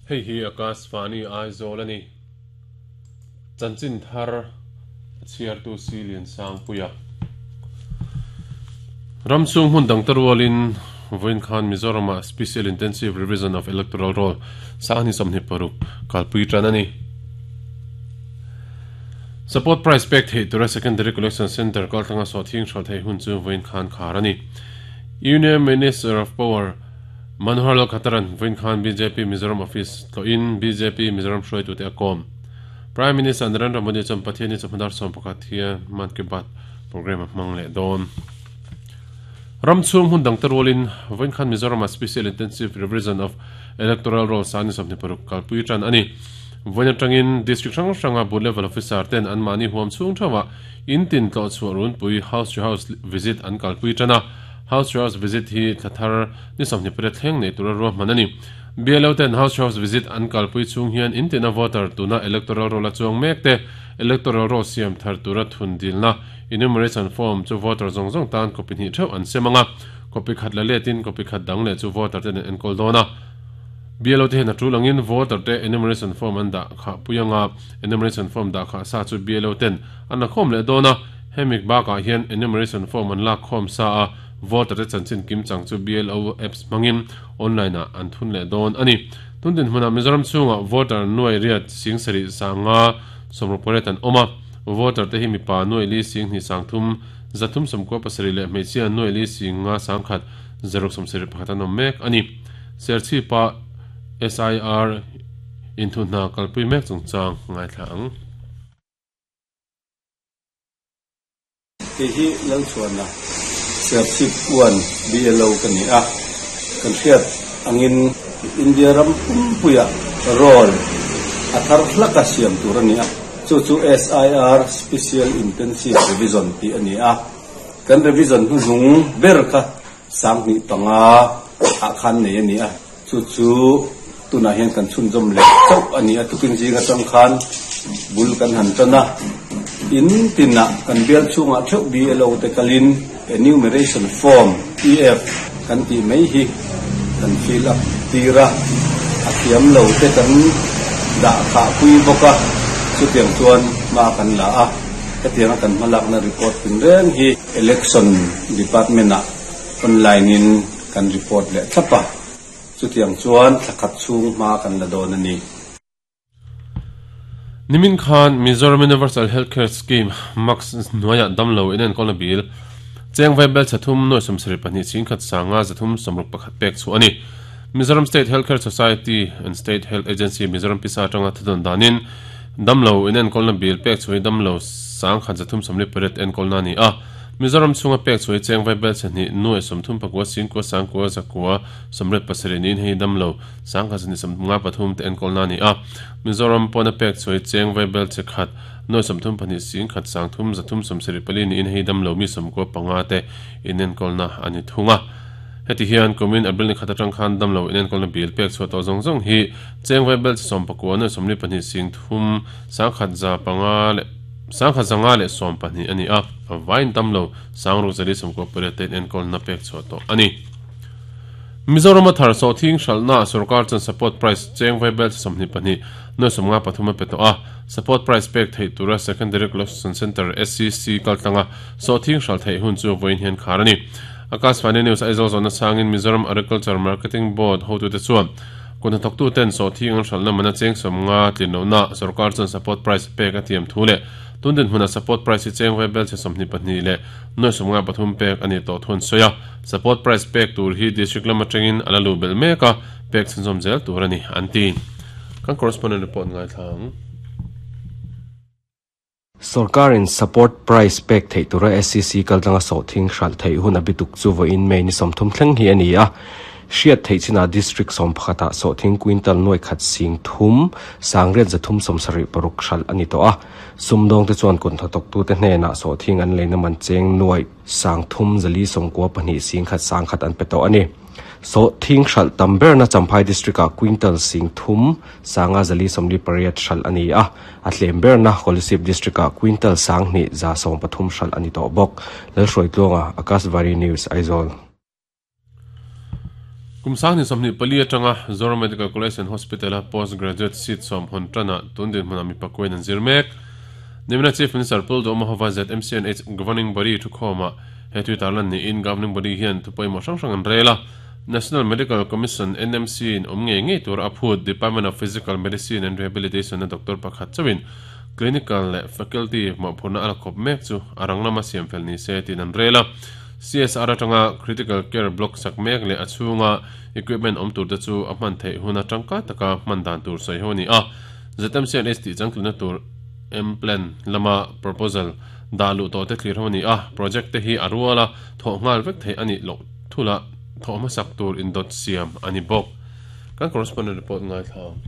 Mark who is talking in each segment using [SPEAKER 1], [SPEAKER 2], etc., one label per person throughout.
[SPEAKER 1] Hei hi Akashvani Aizawl a ni. Chanchin thar a chhiartu Si Liansangpuia. Ram chhung hmun dangte rualin vawiin khan Mizoramah Special Intensive Revision of Electoral Roll sanghnih 26 kalpui tan a ni. Support price pek theih tura Secondary Collection Centre kaltlanga sawhthing hral theih hun chu vawiin khan khar a ni. Union Minister of Power Manohar Lal Khattaran vawiin khan bjp Mizoram Office tlawhin bjp Mizoram hruaitute a kawm. Prime Minister Narendra Modi chuan Pathianni chawhma dar 11 hian Mann Ki Baat programme a hmang leh dawn. Ram chhung hmun dangte rualin vawiin khan Mizoramah Special Intensive Revision of Electoral Roll sani 26 kalpui tan a ni. Vawiin atangin District hrang hranga Booth Level Officer ten anmahni huam chhung theuhah in tin tlawh chhuah runpui House to House Visit an kalpui tan a. House to House Visit hi thla thar ni 28 thleng nei tura ruahman a ni. BLO ten House to House Visit an kalpui chhung hian in tina voter tuna Electoral Roll a chuang mek te Electoral Roll siam thar tura thun dilna Enumeration Form chu voter zawng zawng tan copy hnih theuh an sem ang a, copy khat la letin copy khat dang leh chu voter ten an enkawl dawn a. BLO te hian a tul angin voter te enumeration form an dah khah pui ang a, enumeration form dah khah sa chu BLO ten an la khawm leh dawn a, hemi bakah hian enumeration form an lak khawm sa a, voter te chanchin kim chang chu BLO apps hmangin online ah an thun leh dawn a ni. Tun dinhmunah Mizoram chhungah voter nuai riat sing sarih sanga 68 an awm a, voter te hi mipa nuai li sing hnih sang thum zathum sawmkua pasarih leh hmeichhia nuai li sing nga sang khat zaruk sawmsarih pakhat an awm mek a ni. Serchhipa SIR inthuhna kalpui mek chungchang ngaithla ang.
[SPEAKER 2] Kei hi Lalchhuana Serchhip uan BLO ka ni a, kan hriat angin India ram pumpuiah roll a thar hlaka siam tur a ni a, chu chu SIR Special Intensive Revision tih a ni a, kan revision hnuhnung ber kha 2005 ah khan nei a ni a, chu chu tunah hian kan chhunzawm leh chauh a ni a, tukin zing atang khan bul kan han tan a, in tinah kan bial chhungah theuh BLO te kalin enumeration form, EF, kan tih mai hi kan fill up tir a, a thiam lo te kan dah khah pui bawk a, chutiang chuan hma kan la a, hetianga kan hmalakna report tinreng hi Election Department ah online in kan report leh thlap a, chutiang chuan thla khat chhung hma kan la dawn a ni.
[SPEAKER 1] Nimin khan Mizoram Universal Health Care Scheme, MACS, hnuaiah damlo inenkawlna bil cheng vaibel chhe thum nuai 72 chhingkhat sanga 361 pek chhuah a ni. Mizoram State Health Care Society and State Health Agency Mizoram pisa atanga thudawn danin Damlo inenkawlna bil pek chhuai damlo 10,348 enkawlna a ni a. Mizoram chhunga pek chhuai cheng vaibel chhe hnih nuai 30 pakua singkua sangkua zakua 87 niin hei damlo 1,253 te enkawlna a ni a. Mizoram pawna pek chhuai cheng vaibel chhe khat nuai 34 singkhat sangthum 374 niin hei damlo mi 95 te inenkawlna a ni thung a. Heti hian kumin April ni khat atang khan damlo inenkawlna bil pek chhuah tawh zawng zawng hi Cheng vaibel chi 19 nuai 42 sing thum sangkhat za panga leh sangkhat zanga leh 12 a ni a, a vain tam lo sangruk zali 98 te enkawlna pek chhuah tawh a ni. Mizorama thar sawhthing hralhna sorkar chuan support price cheng vaibel chi 22 nuai 53 a pe tawh a, support price pek theih tura Secondary Collection Centre, SCC, kaltlanga sawhthing hralh theih hun chu vawiin hian khar a ni. Akashvani News Aizawl zawhna changin Mizoram Agriculture Marketing Board hotute chuan Kut hnathawktuten sawhthing an hralhna mana cheng 50 tlin lohna sorkar chuan support price pek a tiam thu leh tun dinhmunah support price hi cheng vaibel chhe 22 leh nuai 53 pek a nih tawh thu an sawi a. Support price pek tur hi district lam atangin a la luh belh mek a, pek chhunzawm zel tur a ni, an ti. Kan correspondent report ngaithla ang.
[SPEAKER 3] Sorkarin support price pek theih tura SCC kaltlanga sawhthing hralh theih hun a bituk chu vawiin May ni 30 thleng hi a ni a. Hriat theih chinah District 11 ah sawhthing quintal nuai khat sing thum sangriat zathum 76 hralh a ni tawh a. Sumdawngte chuan kut hnathawktute hnenah sawhthing an leina man cheng nuai sang thum zali 92 sing khat sang khat an pe tawh a ni. Sawhthing hralh tam berna Champhai District ah quintal sing thum sanga zali 48 hralh a ni a, a tlem berna Kolasib District ah quintal 2 113 hralh a ni tawh bawk. Lalhruaitluanga, Akashvani News, Aizawl.
[SPEAKER 1] Kum 2024 atanga Zoram Medical College and Hospital-a Post Graduate seat sawm hawn tana tun dinhmunah mi pakuain an zir mek. Nimina Chief Minister Pu Duhoma hova ZMCNH Governing Body thukhawmah he tui tarlan niin Governing Body hian thu pawimawh hrang hrang an rel a. National Medical Commission, NMC, in awm ngei ngei tura a phut Department of Physical Medicine and Rehabilitation-a doctor pakhat chauhin Clinical leh Faculty mawhphurhna a la khawp mek chu a rang lama siam fel ni se tiin an rel a. CSR atanga Critical Care Block sak mek leh a chhunga equipment awm turte chu a hman theih huna tangkai taka hman dan tur sawi ho a ni a. ZMCNH tih changtlunna tur M-Plan lama proposal dah luh tawhte thlir ho a ni a. Project te hi a ruala thawh nghal vek theih a nih loh thula thawh hmasak tur indawt siam a ni bawk. Kan correspondent report ngaithla ang.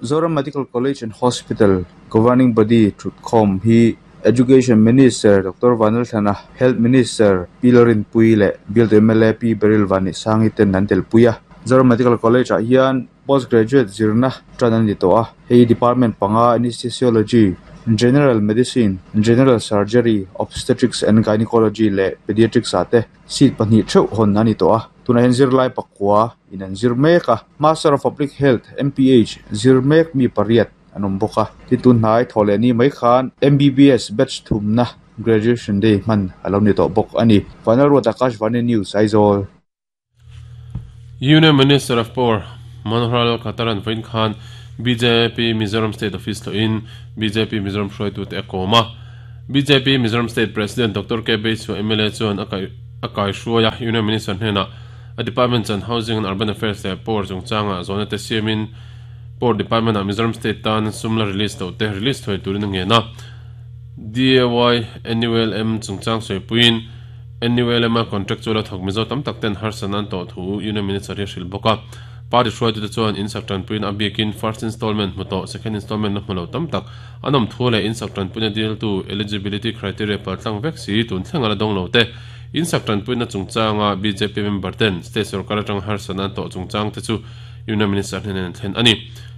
[SPEAKER 4] Zoram Medical College and Hospital Governing Body thutkhawm hi Education Minister Doctor Vanlalthlana, Health Minister Pi Lalrinpuii leh Bialtu mla Pi Beryl Vanneihsangi ten an telpui a. Zoram Medical College ah hian Post Graduate zirna tan a ni tawh a, hei department panga Anesthesiology, General Medicine, General Surgery, Obstetrics and Gynecology leh Pediatrics ah te Seat pahnih theuh hawn a ni tawh a, tunah hian zirlai pakua in an zir mek a, Master of Public Health, MPH, zir mek mi pariat an awm bawk a, tin tun hnai thaw leh ni mai khan MBBS batch thumna graduation day hman a lo ni tawh bawk a ni. Vanal Ruat Akashvani News, Aizawl.
[SPEAKER 1] Union Minister of Power Manohar Lal Khattar-a'n vawiin khan bjp Mizoram State Office tlawhin bjp Mizoram hruaitute a kawm a. Bjp Mizoram State President Doctor K Beisua mla chuan a kai a kaihruai a, Union Minister hnenah a Department chuan Housing and Urban Affairs leh Power chungchangah zawhna te siamin Power Department ah Mizoram State tan sum la release loh te release thuai turin a ngen a. DAY NULM chungchang sawipuiin NULM a contractual a thawk Mizo tam tak ten harsatna an tawh thu Union Minister hi a hrilh bawk a. Party hruaitute chuan in sak tanpuiin a biakin first installment hmu tawh second installment la hmu lo tam tak an awm thu leh in sak tanpuina diltu eligibility criteria paltlang vek si tun thleng a la dawng lo te in sak tanpuina chungchanga bjp member ten state sorkar atanga harsatna an tawh chungchang te chu Union Minister hnen an thlen a ni.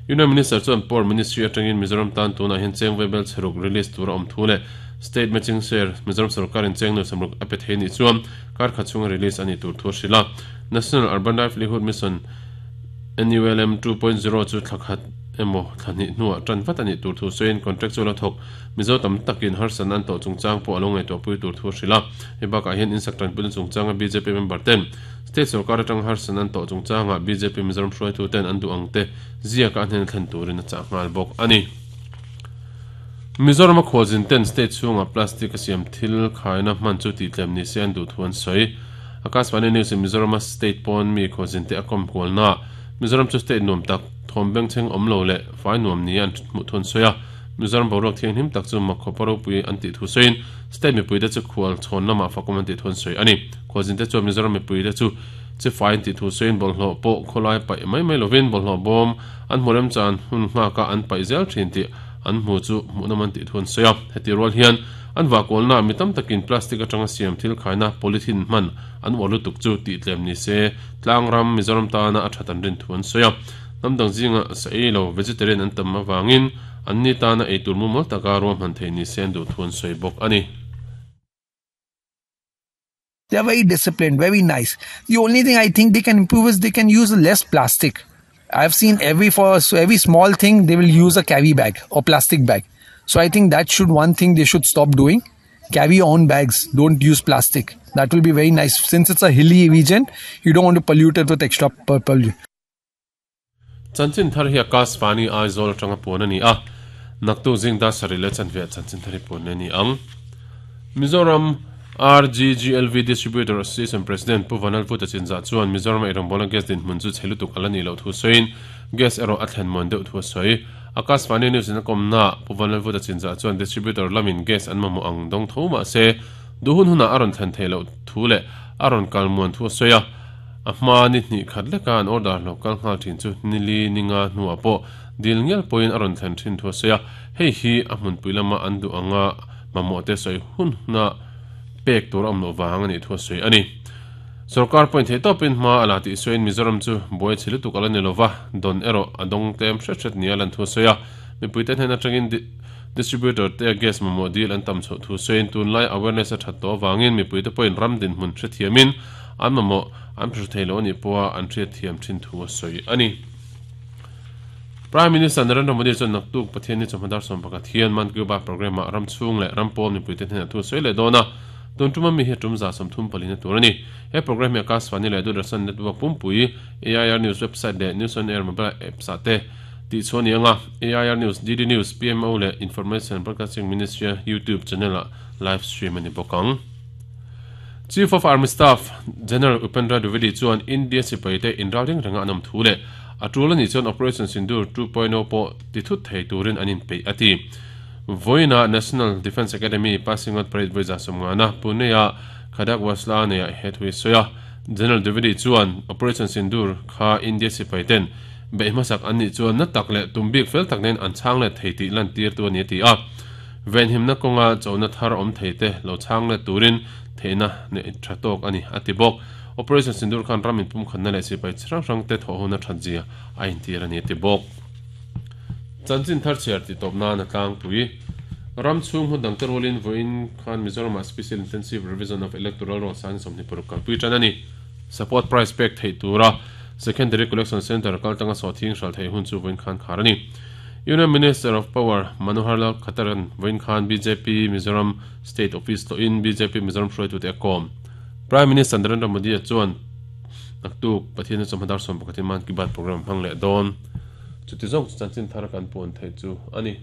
[SPEAKER 1] Union Minister chuan Power Ministry atangin Mizoram tan tunah hian cheng vaibel chheruk release tur a awm thu leh State matching share Mizoram sorkarin cheng nuai samruk a pe thei nih chuan kar khat chhunga release a nih tur thu a hrilh a. National Urban Livelihood Mission, NULM, 2.0 chu thla khat emaw thla hnih hnuah tan vat a nih tur thu sawiin contractual a thawk Mizo tam takin harsatna an tawh chungchang pawh a lo ngaihtuahpui tur thu a hrilh a. Hei bakah hian insak tanpuina chungchanga bjp member ten state sorkar atanga harsatna an tawh chungchangah bjp Mizoram hruaitu ten an duh ang te ziaka a hnena thlen turin a chah nghal bawk a ni. Mizoram a khualzin ten state chhungah plastic a siam thil khaina hman chu tihtlem ni se an duh thu an sawi. Akashvani News in Mizorama state pawn mi khualzin te a kawm kualna Mizoram chu state nuam tak, thawm bengchheng awm lo leh fai nuam nia an hmuh thu an sawi a. Mizoram boruak thianghlim tak chu mak khawpa ropui an tih thu sawiin state mipuite chu khual chhawn lamah fakawm an tih thu an sawi a ni. Khualzin te chuan Mizoram mipuite chu chi fai an tih thu sawiin bawlhhlawh pawh khawlai paih mai mai lovin bawlhhlawh bawm an hmu remchan hun nghaka an paih zel thin tih an hmu chu hmuhnawm an tih thu an sawi a. Heti rual hian an vahkualnaah mi tam takin plastic atanga siam thil khaina polythene hman an uar lutuk chu tihtlem ni se tlangram Mizoram tana a that an rin thu an sawi a. Hnam dang zinga sa ei lo vegetarian an tam avangin anni tana eitur mumal taka ruahman theih ni se an duh thu an sawi bawk a ni.
[SPEAKER 5] They are very disciplined, very nice. The only thing I think they can improve is they can use less plastic. I've seen every for so every small thing they will use a carry bag or plastic bag. So I think that should one thing they should stop doing. Carry your own bags. Don't use plastic. That will be very nice. Since it's a hilly region, you don't want to pollute it with extra purple.
[SPEAKER 1] Chanchin thar hi Akashvani Aizawl atanga puan a ni a, naktuk zing dar sarih leh chanve ah chanchin thar hi puan leh a ni ang. Mizoram RGGLV Distributor Association President Pu Vanal Vuta Chinzah chuan Mizoram a eirawngbawl a gas dinhmun chu chhe lutuk a la nih loh thu sawiin gas erawh a thlen muan deuh thu a sawi. Akashvani News in a kawmnaah Pu Vanal Vuta Chinzah chuan distributor lamin gas an mamawh ang dawng tho mah se duh hun hunah a rawn thlen theih loh thu leh a rawn kal muan thu a sawi a. A hma ni hnih khat leka an order lo kal nghal thin chu nili ninga hnuah pawh dil ngial pawhin a rawn thlen thin thu a sawi a, hei hi a hmunpui lama an duh anga mamawhte sawi hun huna pek tur a awm loh vang a nih thu a sawi a ni. Sorkar pawhin theihtawpin hma a la tih sawiin Mizoram chu buai chhe lutuk a la ni lova, dawn erawh a dawng tlem hret hret nia lan thu a sawi a, mipuite hnen atangin distributor te gas mamawh dil an tam chhoh thu sawiin tunlai awareness a that tawh avangin mipuite pawhin ram dinhmun hrethiamin. an mamawh an hre thei lo a nih pawha an hriatthiam thin thu a sawi a ni. Prime Minister Narendra Modi chuan naktuk Pathianni chawhma dar 11 hian Mann Ki Baat programme ah ram chhung leh ram pawl mipuite hnenah thu a sawi leh dawn a, tun tuma mi hi a tum 34 na tur a ni. He programme hi Akashvani leh Doordarshan network pumpui, AIR News website leh News on Air mobile apps ah te tih chhuah a ni ang a, AIR News, DD News, PMO leh Information Broadcasting Ministry-a YouTube channel ah live stream a ni bawk ang. Chief of Army Staff, General Upendra Dwivedi chuan India sipaite inralring renga an awm thu leh a tul a nih chuan Operation Sindoor 2.0 pawh ti thut thei turin an inpeih a ti. Vawiinah National Defence Academy Passing Out Parade vawi 150na Pune-a Khadakwasla neiah he thu hi sawi a. General Dwivedi chuan Operation Sindoor kha India sipaiten beih hmasak an nih chuan na tak leh tum bik fel tak nen an chhang let thei tih lantirtu a ni a ti a. Venhimna kawnga chona thar awm thei te lo chhang let turin theihna neih tha tawk a ni, a ti bawk. Operation Sindoor khan ram inpumkhatna leh sipai chi hrang hrang te thawh huna that zia a intir a ni, a ti bawk. Chanchin thar chhiar tih tawp nan a tlangpui. Ram chhung hmun dangte rualin vawiin khan Mizoramah Special Intensive Revision of Electoral Roll sang 26 kalpui tan a ni. Support price pek theih tura Secondary Collection Centre kaltanga sawhthing hralh theih hun chu vawiin khan khar a ni. Union Minister of Power Manohar Lal Khattaran vawiin khan bjp Mizoram State Office tlawhin bjp Mizoram hruaitute a kawm. Prime Minister Narendra Modi-a chuan naktuk Pathian chawhma dar 11 in Mann Ki Baat programme a hmang leh dawn. Chuti zawng chu chanchin thar kan puan theih chu a ni.